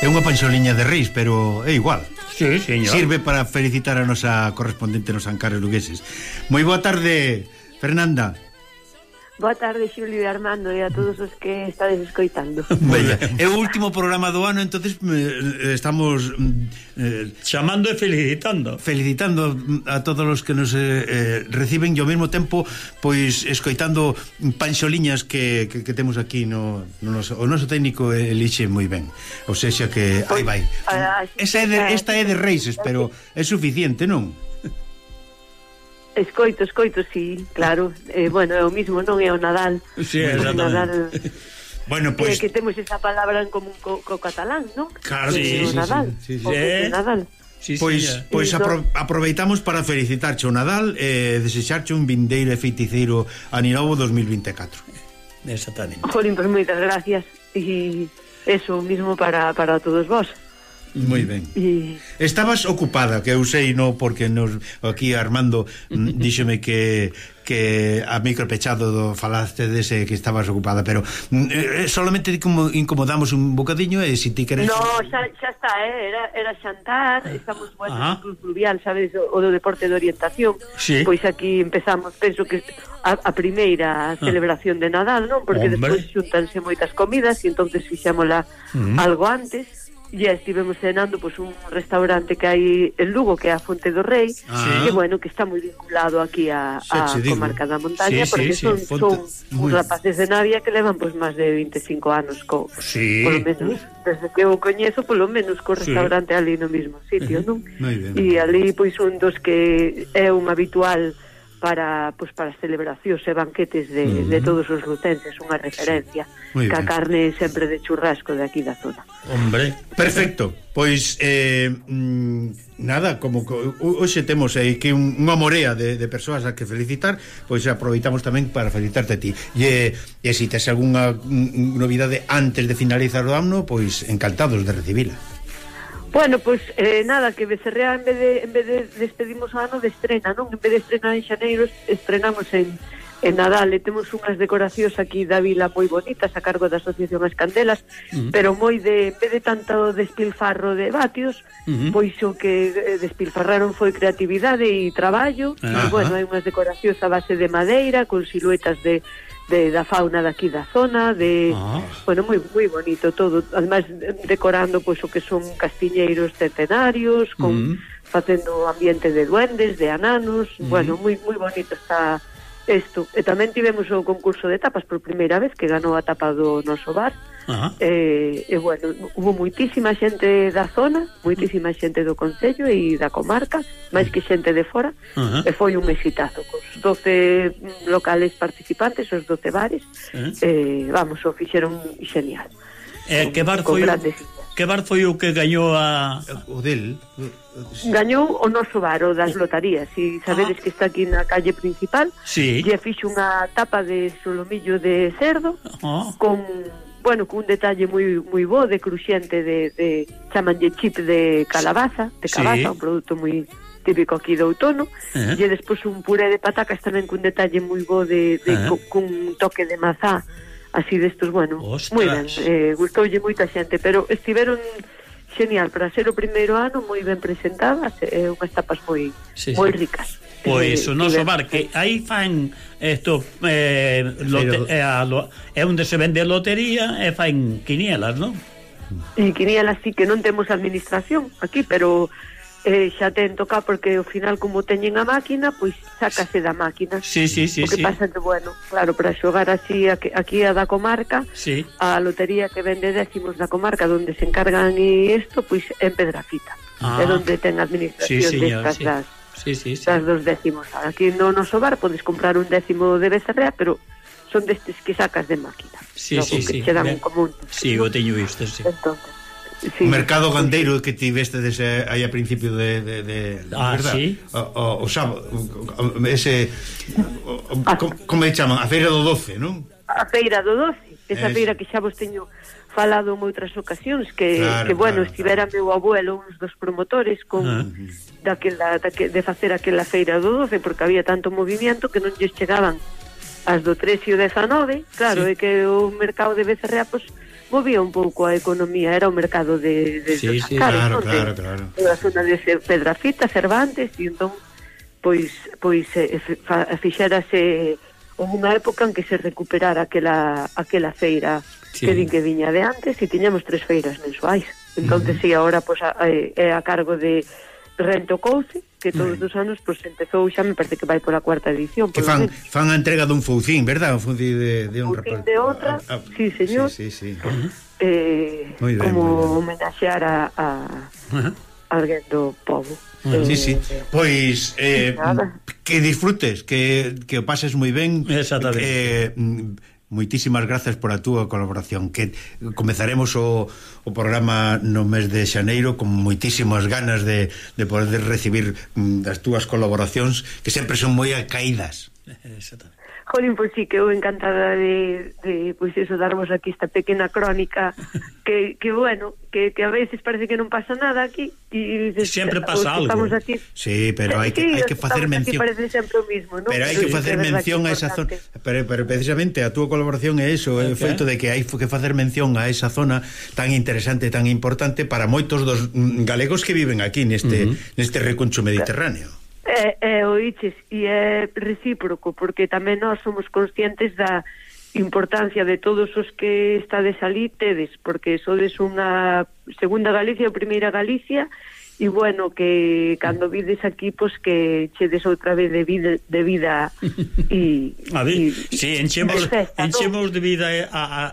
É unha panxoliña de reis, pero é igual. Sí, señor. Sirve para felicitar a nosa correspondente nos Ancares lugueses. Moi boa tarde, Fernanda. Boa tarde, Xulio e Armando, e a todos os que estades escoitando. Bella. É o último programa do ano, entonces estamos chamando e felicitando a todos os que nos reciben, e ao mesmo tempo pois escoitando panxoliñas que temos aquí no noso, o noso técnico elixe moi ben. Ou sexa que aí vai. Esta é de Reises, pero é suficiente, non? Escoito, sí, claro. Bueno, é o mismo, non é o Nadal. Sí, Nadal. Bueno, pois que temos esa palabra en común co catalán, non? Claro, sí, sí, Nadal. Sí. Nadal. Sí, pois aproveitamos para felicitarte o Nadal e desexarche un vindeiro e feiticeiro aninovo 2024. Exactamente. Jolín, pues moitas gracias. E eso mismo para todos vós. Moi ben. Estabas ocupada, que eu sei, no, porque aquí Armando díxome que a micro pechado falaste dese que estabas ocupada, pero solamente incomodamos un bocadiño e se ti queres... No, xa está, era xantar, estamos en Cruz Fluvial, sabes, o do deporte de orientación. Sí. Pois aquí empezamos, penso que a primeira celebración de Nadal, non? Porque despois xuntanse moitas comidas e entonces fixámola algo antes. Ya estivemos cenando pues un restaurante que hai en Lugo, que é a Fonte do Rei, que bueno, que está moi vinculado aquí a comarca da montaña, porque son uns rapaces de Navia que levan pues máis de 25 anos polo menos, desde que eu coñezo, polo menos co restaurante ali no mesmo sitio, non? E ali pois un dos que é un habitual para celebracións e banquetes de todos os lucenses, unha referencia, que a carne sempre de churrasco de aquí da zona. Hombre, perfecto. Pois nada, como hoxe temos que unha morea de persoas a que felicitar, pois aproveitamos tamén para felicitarte a ti. E se tes algunha novidade antes de finalizar o ano, pois encantados de recibila. Bueno, pois nada, que Becerrea en vez de despedimos o ano de estrena, non? En vez de estrenar en xaneiro, estrenamos en Nadal, e temos unhas decoracións aquí da vila moi bonitas a cargo da Asociación As Candelas, pero moi en vez de tanto despilfarro de vatios, pois o que despilfarraron foi creatividade e traballo. E bueno, hai unhas decoracións a base de madeira con siluetas da fauna daqui da zona, bueno, moi bonito todo, además decorando pois o que son castiñeiros centenarios, facendo ambiente de duendes, de ananos, bueno, moi bonito está isto. E tamén tivemos o concurso de tapas por primeira vez, que ganou a tapa do noso bar. E bueno, hubo moitísima xente da zona, moitísima xente do concello e da comarca, máis que xente de fora, e foi un exitazo cos 12 locales participantes, os 12 bares. Vamos, o fixeron genial. Que bar foi o que gañou o del? Gañou o noso bar, o das lotarías. E sabedes que está aquí na calle principal. Sí. E fixo unha tapa de solomillo de cerdo con un detalle moi bo de cruxente de chamanlle chip de calabaza, un produto moi típico aquí do outono, e despois un puré de patacas tamén con detalle moi bo con un toque de mazá, así destos, bueno, moi ben, gustoulle moita xente, pero estiveron genial para ser o primeiro ano, moi ben presentadas, unhas tapas moi ricas. Pois o noso bar, que aí fan isto é onde se vende lotería e fan quinielas, non? E quinielas sí, que non temos administración aquí, pero xa ten toca, porque ao final como teñen a máquina, pois sácase da máquina. O que pasa que, bueno, claro, para xogar así aquí a da comarca, a lotería que vende décimos da comarca, onde se encargan e isto, pois en Pedrafita, é onde ten administración destas das dos décimos. Aquí no noso bar podes comprar un décimo de Becerrea, pero son destes que sacas de máquina, que che dan un común. O teño visto, Entonces, o mercado gandeiro que tiveste aí a principio de verdad? O sábado, ese como le chaman? A feira do 12, non? A feira do 12, esa feira que xa vos teño falado en outras ocasións, que bueno, estivera meu abuelo, uns dos promotores con de facer aquela feira do 12, porque había tanto movimiento que non lles chegaban as do 13 e o 19, claro, é que o mercado de Becerrea, pois, movía un pouco a economía, era o mercado de claro. A zona de Pedrafita, Cervantes, e entón pois fixérase unha época en que se recuperara aquela feira que din que viña de antes, e tiñamos 3 feiras mensuais. Entonces, si agora pois é a cargo de Rento Couce, que todos os anos pois empezou, xa me parece que vai pola 4ª edición. Que fan a entrega dun foucín, verdad? Un foucín de honra. Foucín de honra, sí, señor. Sí. Como homenaxear a alguén do povo. Sí. Pois que disfrutes, que o pases moi ben. Exactamente. Moitísimas grazas por a túa colaboración, que comezaremos o programa no mes de xaneiro con moitísimas ganas de poder recibir as túas colaboracións, que sempre son moi acaídas. Exactamente. Jolín, pois sí, que eu encantada de pois eso, darmos aquí esta pequena crónica que bueno, que a veces parece que non pasa nada aquí e sempre pasa algo. Estamos aquí. Sí, pero hai que facer mención. Parece sempre o mismo, ¿no? Pero hai que facer mención a esa zona. Pero precisamente a túa colaboración é eso, é o feito de que hai que facer mención a esa zona tan interesante, tan importante para moitos dos galegos que viven aquí neste reconcho mediterráneo. Oiches, e é recíproco, porque tamén nós somos conscientes da importancia de todos os que estades ali tedes, porque sodes unha segunda Galicia ou primeira Galicia, e bueno, que cando vides aquí, pois que chedes outra vez de vida e enchemos de vida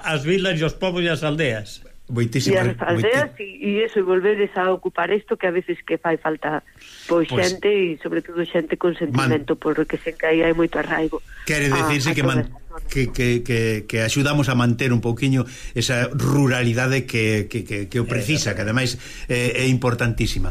as vilas e os povos e as aldeas. E as aldeas e eso, e volvedes a ocupar isto que a veces que fai falta pois xente, e sobre todo xente con sentimento, porque sen que aí hai moito arraigo. Quere dicirse que axudamos a manter un pouquiño esa ruralidade que o precisa, que ademais é importantísima.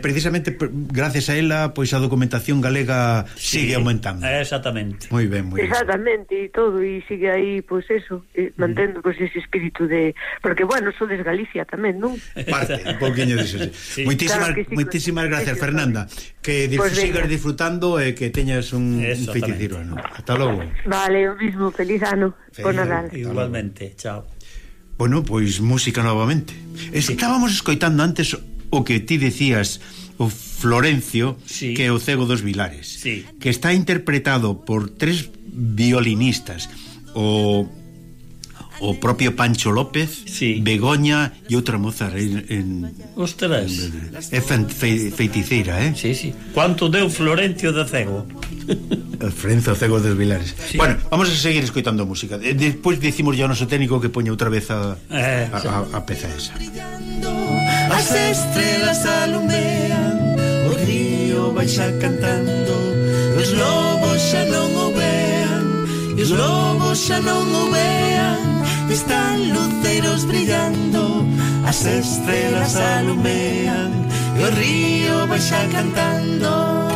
Precisamente gracias a ela, pois a documentación galega sigue aumentando. Exactamente. Moi ben. Exactamente, e todo, e sigue aí, pois eso, mantendo pois ese espírito de, porque bueno, sodes Galicia tamén, non? Parte, un pouquiño diso. Sí. Moitísimas gracias, Fernanda. Que sigas disfrutando e que teñas un feiticeiro ano. Hasta logo. Vale, o mismo, feliz ano. Con Nadal. Igualmente, chao. Bueno, pois música novamente. Estábamos escoitando antes o que ti decías, o Florencio, que é o Cego dos Vilares, que está interpretado por 3 violinistas, o propio Pancho López, Begoña e outra moza ostras, é feiticeira, Sí. Quanto deu Florencio de Cego? Florencio Cego dos Vilares. Bueno, vamos a seguir escoitando música. Despois dicimos ya ao noso técnico que poña outra vez a peza esa. As estrelas alumean, o río baixa cantando, os lobos xa non o vean, e os lobos xa non o vean, están luceiros brillando, as estrelas alumean, e o río baixa cantando.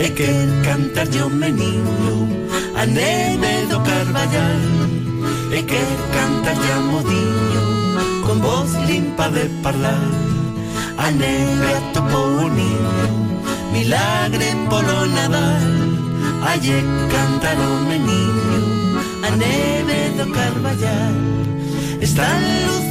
E quer cantarlle o meniño a neve do Carballal, e quer cantarlle a modiño con voz limpa de parlar. A neve atopou o niño, milagre polo Nadal. Alle cantar o meniño a neve do Carballal, están luces